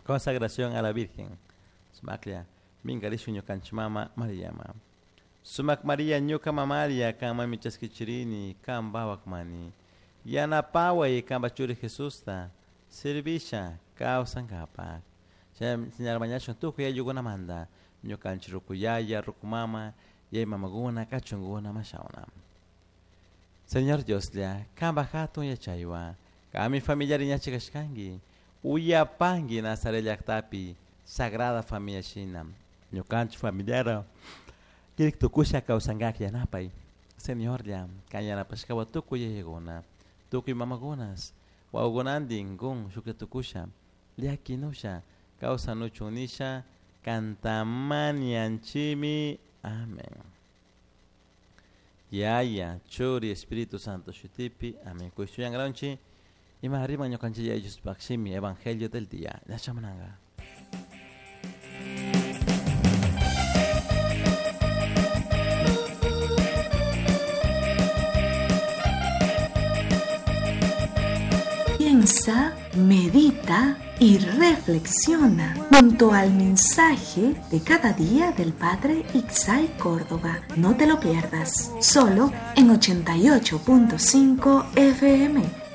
Consagración a la Virgen. Sumaklla, minkarishun ñukanchik mama Mariama. Sumak Maria ñuka mamaria kanmanmi chaskichirini kan mani. Yanapaway kanpa churi Jesusta servisha kawsankapak. Señor mañashun tukuy ayllukunamanta ñukanchik rukuyaya, rukumama, yay mamakuna, kachunkuna mashawna. Señor Dioslla, kanpa hatun yachaywan, kami familiari ñachikashkanki, uyapanki Nazaret llaqtapi Sagrada Familia shina, ñukanchik familiara kirik tukusha kawsankak yanapay. Señorlla, kan yanapashkawa tukuy yayakuna, tukuy mamakunas, wawakunantin kun shuklla tukusha, llakinusha, kawsanuchun nisha, kantamanianchimi. Amén. Yaya, Churi, Espíritu Santo shutipi. Amén. Kushtuyan ima arriba ñukanchik Yaya shimi Evangelio del día. Ñachamananga. Piensa, medita y reflexiona junto al mensaje de cada día del Padre Ixay Córdoba. No te lo pierdas, solo en 88.5 FM.